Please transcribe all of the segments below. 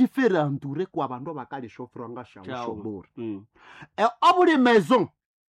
Ukajifere entourer kwa bandu abakalisha ofuranga shawu Shawu. shobure. Obuli maison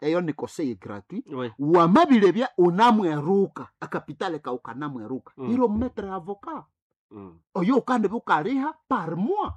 eyo ni conseil gratuit. Oui. Wamabilebya unamweruka akapitale kawu kanamweruka, ilo maître avocat oyo ukandi bukaliha par mois,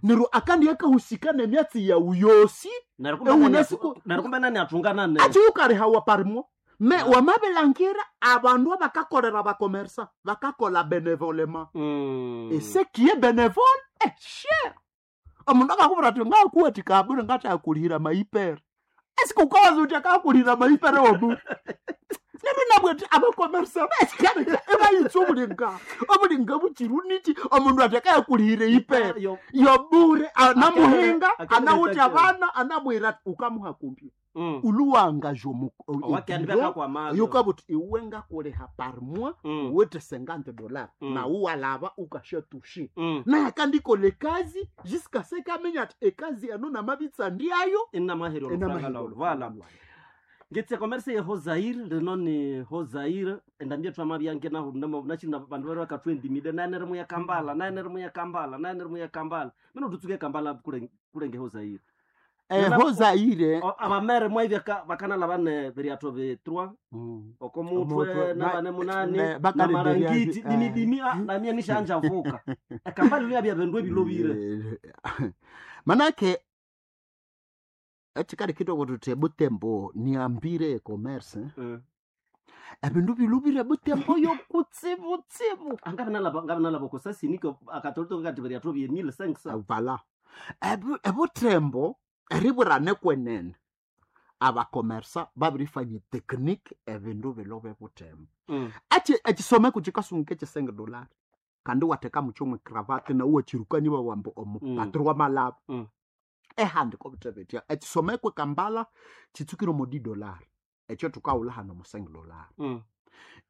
neryo akandi akahusika nemyatsi yawu yosi. Neryo kumbe Ewu nani nasiku- neryo kumbe nani atungana ne Achi ukalihawa par mois me wamabilangira abandu abakakolera bakomersa bakakola bénévolement. Et ce qui est bénévole est cher. Omundu akakubwira ati ngakuwathika abure ngatakulihira maipere, esike ukawaza uti akakulihira maipere obu? Neryo nabwe ati abakomersa basikale ebayitsa obulinga obulinga buchiru nichi omundu ati akayakulihira ipere yobure anamuhinga anawuthi abana anamwira ati ukamuha kumpya uluwangaje. Owakandi bakakwamazo. Yukabuti iwe ngakuliha par mois wete $50, nawu walava ukashatushe. Naye akandikola ekazi jusqu'à ce kamenya ati ekazi eno namabitsa ndyayo. Inamaheri olufranga lwawu. Voilà, ngetse commerce ye hozair rino ni hozair endambia twama byange naho nachina bandu bari bakatwendimide naenere muya kambala, naenere muya kambala, naenere muya kambala mino tutsuke kambala kulenge hozair. Hozaire. Abamere mwaivya bakanala bane biriato bi 3 oko mutwe Omutwe, nabane munani bakali namarangiti biriato, dimi dimi namia nishanja vuka ekambala lya bya bindu ebilobire. Manake ekikali kitoko tuti ebutembo niambire ecommerce, ebindu bilubire butembo yokutsibutsibu. Angabinalaba kosasiniko akatolito kati biriato bye 1500. Vala ebutembo eriburane kwenene abakomersa babirifanya technique ebindu bilobe butembo. Ekisomeko kikasunguka ekyesenge dolari kandi wateka mukyomwe cravate nawe wachirukani wawamba omupatiri wamalaba. Ehandika obutebetya ekisomeko ekambala kitsukire omo di dolari ekyo tukawula hano omusenge dolari.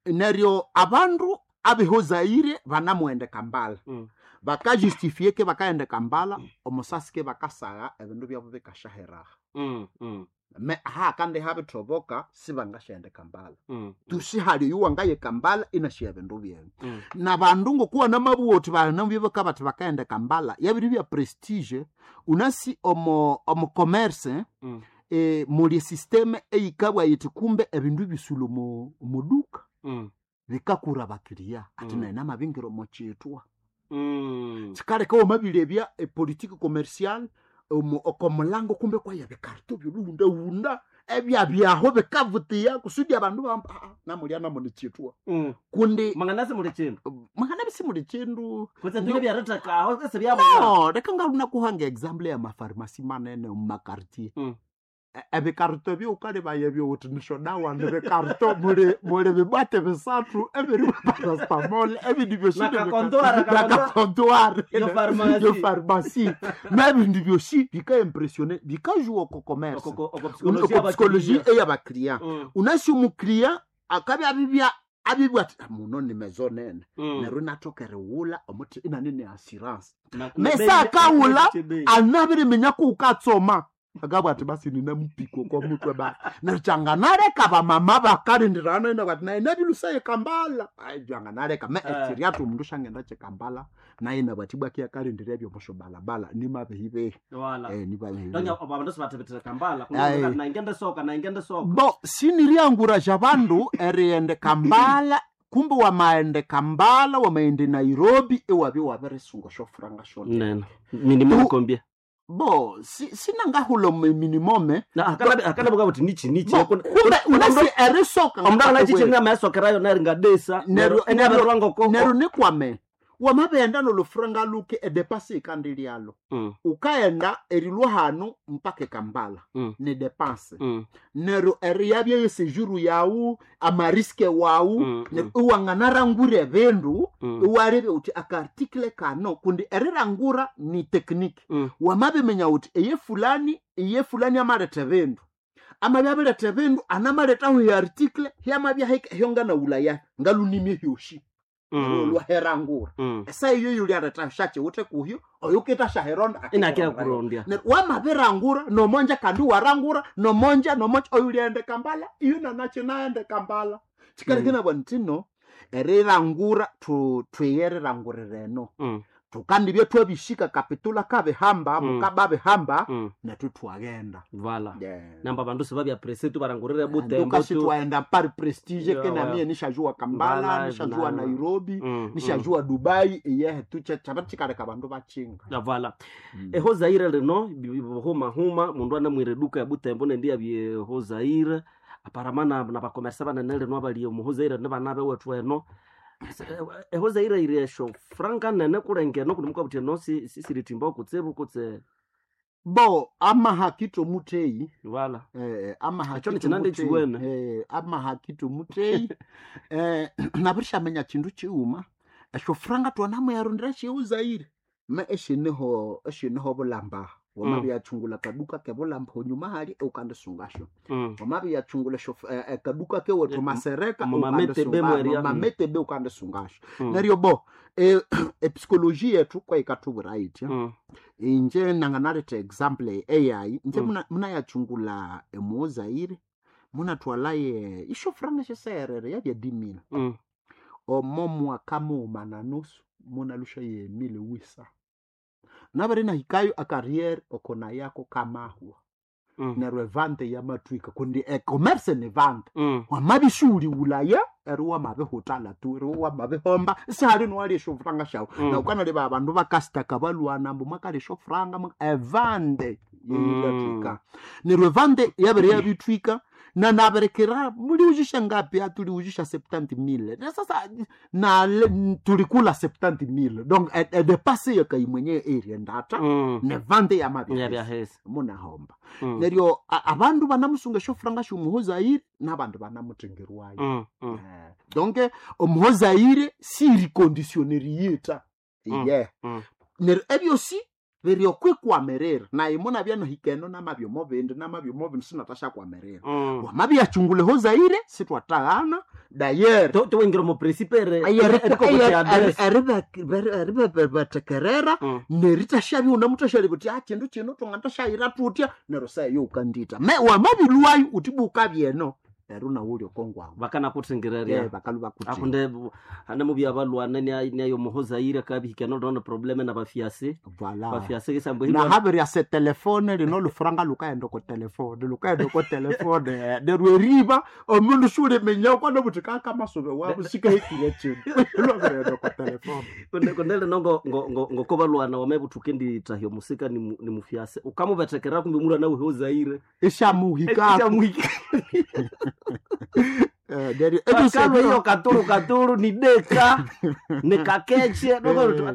Neryo abandu abehozaire banamughenda kambala, bakajustifie ke bakaghenda kambala omusasi ke bakasagha ebindu byabo bikashaheraha. Me ha kandi habithoboka sibangashaghenda kambala. Tusihali oyu wangaye kambala inashiya ebindu byenu. Nabandu ngokuwa namabugha uthi banabibika bathi bakaghenda kambala yabiri bya prestige unasi omo omo commerce. Muli systeme eyikabwa yithi kumbe ebindu bisulha omo omuduka bikakura abakiriya ati nayi namabingira omo kyithwa. Kikaleka wamabilebya epolitiki commercial omo okomulango kumbe kwaya bikarito byoluwundawunda ebyabyaho bikavutiya kusudi abandu bamba "Ah, ah, namulya namuni kyithwa." Kundi Manganasi muli chindu. Mangana bisimuli kindu. Kutse tule byaritakaho ese byabona. No, leka ngalunakuhanga example ya mafarmasi manene mumakartier. Ebikarito byukalibaya byowuthi nishodawa nibikarito muli muli bibwate bisathu ebiri parastamol ebindi byosi. Nakakontoara, nakakontoare. Yo pharmacy. Yo pharmacie mebindi byosi bikaimpressione bikajua oko commerce oko psychologie eyabakiriya. Unasi omukiriya akabya abibya abibwa ati "Ah, muno ni maison nene." Neryo inathoka erighulha omuthi inanene assurance mesa akawula anabiriminya kuukatsoma akabwa ati basi ninamupiko komutwe ba neryo kyanganaleka bamama bakalindirana ino bati naye nabilusaye kambala. Ai, kyanganaleka me ekiryathu omundu syangenda kyekambala naye nabati bwaki yakalindira ebyomusyo balabala nimabehibehi. Nimabehibehi. Abandu sibathebethera kambala. Aye. Naingende soka, naingende soka. Bo siniriangurasha bandu erighenda kambala kumbe wamaghenda kambala wamaghenda nairobi iwabya wabirisunga syofuranga syona. Nene minimum kombia. Bo sinangahula minimome. Akanabuka kuti nichi nichi. Bo, kumbe unasi erisoka. Omundu akanachichi ngamasokerayo neringadesa Neryo neryo neryo nikwame wamabighenda nolufuranga luke edepasi ikandi lyalo. Ukaghenda erilwa hanu mpaka ekambala ni depanse. Neryo eriyabya yesejuru yawu amariske wawu. Neryo iwanganarangura ebindu iwalebya wuthi akaartikle kano kundi erirangura ni technique. Wamabiminya wuthi eye fulani iye fulani amaletha ebindu amabya abiretha ebindu anamalethaho eartikle hyamabya hike hyonganawulaya ngalunimye hyosi olwaherangura esa iyo yulyaletha syakyiwithe kuhyo oyukitha syahironda. Inakia kurondya. Neryo wamabirangura nomonja kandi warangura nomonja nomonja oyulyaghenda kambala iyo nanakyinaghenda kambala kyikaleka nabwa ntino erirangura thwiyerirangurira eno. Tukandibye twabishika kapitula kabihamba, mukababihamba, nethu twaghenda. Vala. Yeah. Namba bandu sibabya presse tu barangurire Butembo Ndukasi tu. twaenda pari prestige, Yeah, kenamie nishajua Kambala, Mbala, nishajua Nairobi, nishajua Dubai, iyehe tuche chabachikaleka bandu bachinga. Ya, vala. Eho Zaire lino huma huma mundu anamwire duka ya Butembo nendi yabye ho Zaire aparama na bakomersa banene lino abali omuho Zaire ne bana bewethu eno. Eho Zaire iri esho franka nene kulengeno kundi mukabuthi eno siritimba kutsibu kutse. Bo amahakito muteyi. Vala. Amahakito Ekyo nikinandi muteyi, chiwene. Amahakito muteyi, nabirishamenya chindu chiuma esho franga twanamuyarondera shiuzaire me eshiniho eshiniho bulamba wamabyachungula kaduka kebulamba honyuma hali ukandisungasho. Wamabyachungula esho kaduka kewethu masereka Mumametebe mweria. mametebe ukandisungasho. Neryo bo epsikoloji yethu kwayikatubwira itya. Inje nanganaleta example eyayi nje. Munayachungula emuozaire munatwalaye isho franga shiserere yabya dimila. Omo mwaka muuma na nusu munalusha ye mile wisa nabere nahikayo akariere okona yako kamahwa. Neryo evante yamatwika kundi ecommerce ni vante. Wamabishuli ulaya eri wamabihutala tu eri wamabihomba sihali niwali eshofuranga shawu. Na ukanaleba abandu bakasitaka balwana mbu mwakali eshofuranga evande yeyilatwika. Neryo evande yabere yabitwika na naberekera muliuzhisha ngapi atuliuzhisha 70,000 na sasa na tulikula 70,000 donc edepase yakai mwenyewe eriendata. Nevande yamabihesa Yabyahesa. munahomba. Neryo abandu banamusunga eshofuranga shumuhozaire n'abandu banamutengerwayo. Donc omuhozaire sirikondisioneri yita. Iye. Neryo ebyosi biri okwikwamirira naye munabya nahikeno namabyomo bindi namabyomo bindi sinatashakwamiririra. Wamabyachungula ehozaire sitwataghana dayere. Towingira omu principe. Eribetekerera neritashabya unamutashaleba uti chindu chino twangatashayira tutya neryo seyo ukandita me wamabilwayo uti bukabyeno eri unawuli okongwawu. Vakanakuthingiraria. Bakalu bakuthi. Akunde hane mubya balwana niayo muhozaire kabihikana lona probleme na bafiase. Voilà. Bafiase kisambo. Na habiri ase telefone lino lufuranga lukaenda ko telefone lukaenda ko telefone neryo eriba omundu shuliminya kwana buti kakamasube wabu sikahikire chindu lwabireenda ko telefone. Kunde lino ngoko balwana wamebuthuke ndithahya omusika ni mufiase ukamubethekerera kumbe mulwana wehe ozaire. Ishamuhikako. Ishamuhika. Neryo Bakalo iyo katulu katulu ni deka ni kakeche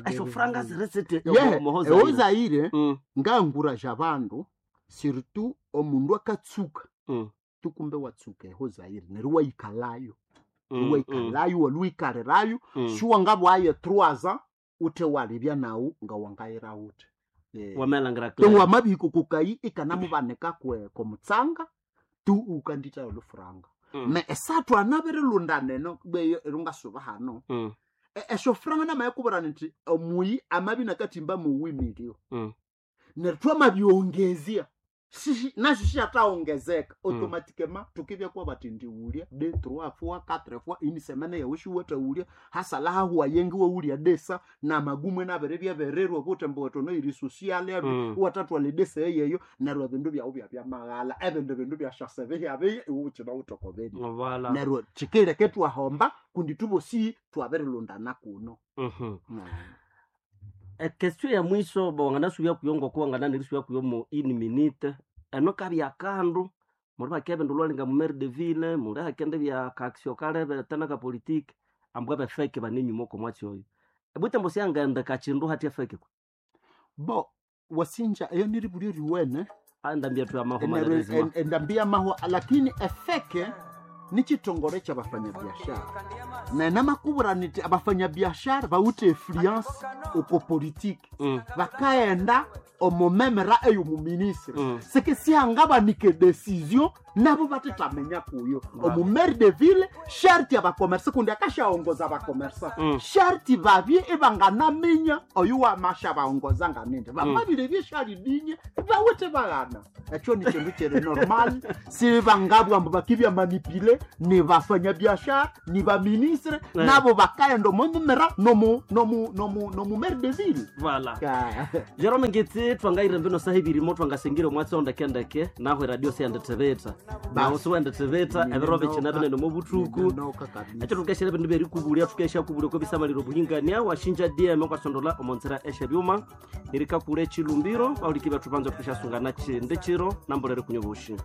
esho franga ziresete. Muhozaire. Eozaire ngangura bandu surtout omundu akatsuka tukumbe watsuka ehozaire neryo wayikalayo waikalayo waluikalirayo. Shuwangabwaye 3 ans ute walibya nawu ngawangayira ute. Wamelangira. Tongo wamabihiko kukayi ikanamubanika kwe komutsanga tu ukandita olufuranga. Me esathu anabirilunda neno beyo erungasuba hano. Eshofuranga namayekubura nti omuyi amabi nakatimba muwimilio. Neryo twamabyongezya nasho shiyataongezeka automatikema tukibya kwa bati ndiwulya de trois fois quatre fois ini semene yawe shiwatawulya hasala hahuwa yengi wawulya desa na magumwe nabere byabererwa butembo watono iri social yabi. Watatwala edesa eyeyo neryo ebindu byawu byabyamaghala ebindu bindu byashasebe byabiye iwe ukina wutokobeni. Wala. Neryo chikileke twahomba kundi tubosi twabirilundana kuno. Ekestion ya mwiso wanganasubya kuyo ngoko wangananirisubya kuyo mo in minute eno kabya kandu muli bakebe ndulwalinga mu maire de ville muli hakende bya kaksio kalebe tena ka politique ambwa befeke banenyuma oko mwatsi oyo ebutembo syangaenda kachindu hati efeke Bo wasinja eyo niribulyo riwene. Andambia tu amaho malerezima. Endambia mahwa lakini efeke ni chitongore cha bafanyabiashara na namakubura niti abafanyabiashara bawite influence uko politiki. Bakaenda. Omomemera eyomuministre seke sihangabanike decision nabo batethamenya kuyo. Omumaire de ville sharti abakomersa, kundi akashaongoza abakomersa, sharti babye ibanganaminya oyu wamasha baongoza nganindi bamabire byeshalidinya bawithe baghana. Ekyo ni kindu kiri normal, sibangabwa mbu bakibya manipule ni bafanyabiashara ni baministre nabo bakaenda omomemera nomu maire de ville. Vala. Ah. Jerome Ngitsi, twangaire mbino saha ibirimo twangasengire omwatsi ondekendeke naho eradio siyandithibitha naho siwendithibitha ebiro bikina binene omo buthuku. Nenoka kabisa. Ekyo tukeshere bindu byerikubulia, tukesha kubulia kobisamaliro obuhingania washinja dm kwasondola omonzira eshebyuma nirikakura echilumbiro bahuliki bethu banza tukeshasungana chindi chiro nambolere kunywa bushi.